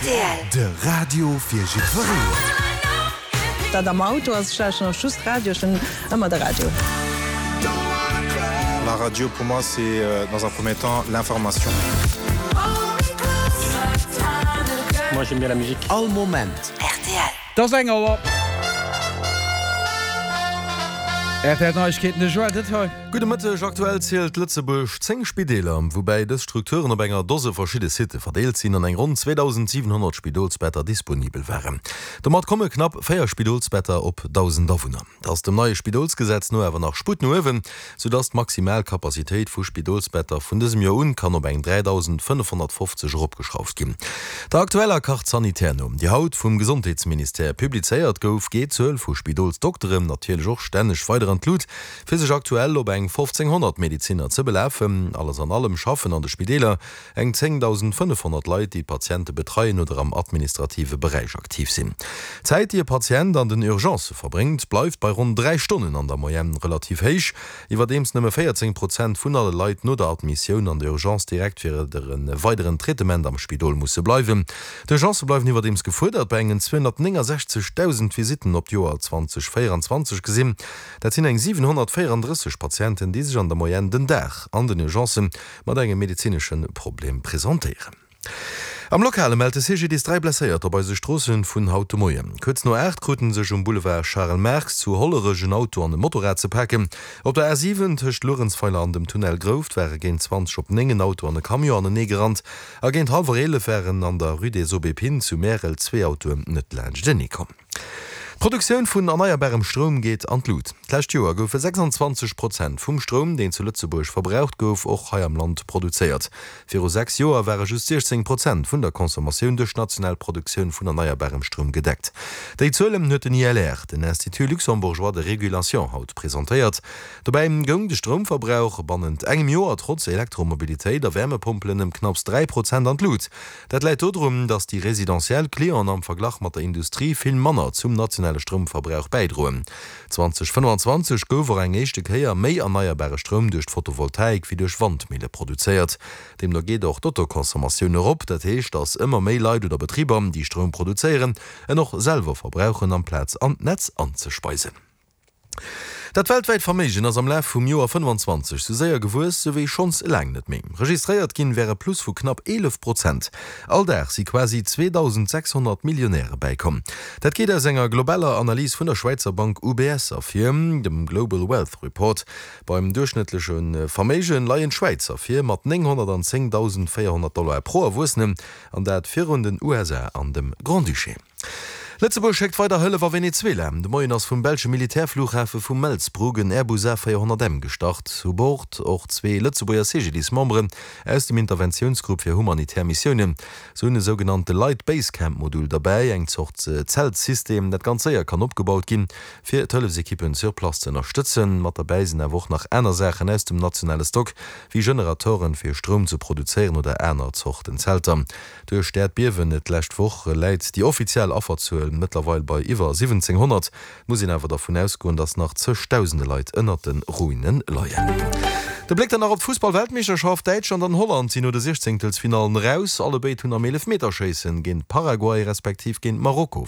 Rtl. De Radio fir jiddwereen. Dat am Auto ass, ech lauschteren och just Radio, ech hunn ëmmer de Radio. La radio pour moi c'est dans un premier temps l'information. Moi j'aime bien la musique. All Moment. Rtl. 't ass eng Auer. Rtl Neiegkeeten, de Joël Detheu. Gudde Mëtteg. Aktuell zielt Lëtzebuerg 10 Spideeler, woubäi dës Strukturen op enger Dose verschidde Sitte verdeelt sinn an eng ronn 2.700 Spidolsbetter disponibel waren. Domat komme knapp 4 Spidolsbetter op 1.000 Awunner. Et ass dem neie Spidolsgesetz no awer nach Sputt no uewen, soudass d'maximal Capacitéit vu Spidolsbetter vun dësem Joer un kann op eng 3.550 eropgeschrauft ginn. Der aktueller Carte sanitaire no, déi haut vum Gesondheetsministère publizéiert gouf, geet d'Zuel vu Spidolsdokteren natierlech och stänneg weider an d'Lut. Fir sech aktuell op eng 1.500 Medezinner ze belafen. Alles an allem schaffen an de Spideeler eng 10.500 Leit, déi d'Patiente betreien oder am administrative Beräich aktiv sinn. D'Zäit, déi e Patient an den Urgencë verbréngt, bleift bei ronn 3 Stonnen an der Moyenne relativ héich, iwwerdeems nëmme 14 Prozent vun alle Leit no der Admissioun an der Urgence direkt fir e weideren Traitement am Spidol musse bleiwen. D'Urgencë bleiwen iwwerdeems gefuerdert, bei engen 269.000 Visitten op d'Joer 2024 gesinn. Dat sinn eng 734 Patienten, déi sech an der Moyenne den Dag an den Urgencë mat engem medezinesche Problem presentéieren. Am Lokale mellt de CGDIS 3 Blesséierter op eise Stroosse vun haut de Moien. Kuerz no 8 kruten sech um Boulevard Charel Marx zu Hollerech en Auto an e Motorrad ze paken. Op der A7 tëscht Luerenzweiler an dem Tunnel Grouft ware géint 20 op 9 en Auto an e Camion anenee gerannt a géint hallwer 11 waren an der Rue des Aubépines zu Märel zwee Autoen net laanschtenee komm. D'Produktioun vun erneierbarem Stroum geet an d'Lut. D'lescht Joer goufe 26 Prozent vum Stroum, deen zu Lëtzebuerg verbraucht gouf, och hei am Land produzéiert. Viru 6 Joer ware just 16 Prozent vun der Consommatioun duerch national Produktioun vun erneierbarem Stroum gedeckt. Déi Zuelen huet den ILR, den Institut luxembourgeois de régulation, haut presentéiert. Dobäi goung de Stroumverbrauch bannent engem Joer trotz Elektromobilitéit a Wärmepompelen ëm knapps 3 Prozent an d'Lut. Dat läit dodrun, datt déi residentiell Clienten am Verglach mat der Industrie vill manner zum nationale Stroumverbrauch bäidroen. 2025 gouf och eng éischte Kéier méi erneierbare Stroum duerch d'Photovoltaik wéi duerch Wandmille produzéiert. Deemno geet och d'Autoconsommatioun erop, dat heescht, datt ëmmer méi Leit oder Betriber, déi Stroum produzéieren, en och selwer verbrauchen amplaz an d'Netz anzespeisen. Dat weltwäit Verméigen ass am Laf vum Joer 25 sou séier gewuess sou wéi schonns laang net méi. Registréiert ginn wär e Plus vu knapp 11 Prozent. All Dag si quasi 2.600 Millionäre bäikomm. Dat geet aus enger globaler Analys vun der Schwäizer Bank UBS ervir, dem Global Wealth Report. Beim duerchschnëttleche Verméige leien d'Schwäizer vir mat 910.400 Dollar pro Erwuessenen, an dat virun den USA an dem Grand-Duché. Lëtzebuerg schéckt weider Hëllef a Venezuela. De Moien ass vum belsche Militärflughafe vu Melsbroek en Airbus A400 M gestart. U Bord och zwee Lëtzebuerger CGDIS-Memberen aus dem Interventiounsgrupp fir humanitär Missiounen. Se hunn e sougenannte Light Base Camp Modul derbäi, eng Zort Zeltsystem, dat ganz séier kann opgebaut ginn, fir d'Hëllefsekippen sur place ze ënnerstëtzen. Mat derbäi sinn awer och nach aner Saachen aus dem nationale Stock, wéi Generatoren, fir Stroum ze produzéieren oder aner Zorten Zelter. Duerch d'Äerdbiewen d'lescht Woch läit déi offiziell Afferzuel mëttlerweil bei iwwer 1.700. Et muss een awer dervun ausgoen, datt nach zëchdausende Leit ënnert de Ruine leien. De Bléck dann nach op d'Fussball-Weltmeeschterschaft, Däitschland an Holland sinn no de Siechzéngtelsfinallen eraus. Allebéid hunn am Eelefmeterschéissen géint Paraguay respektiv géint Marokko.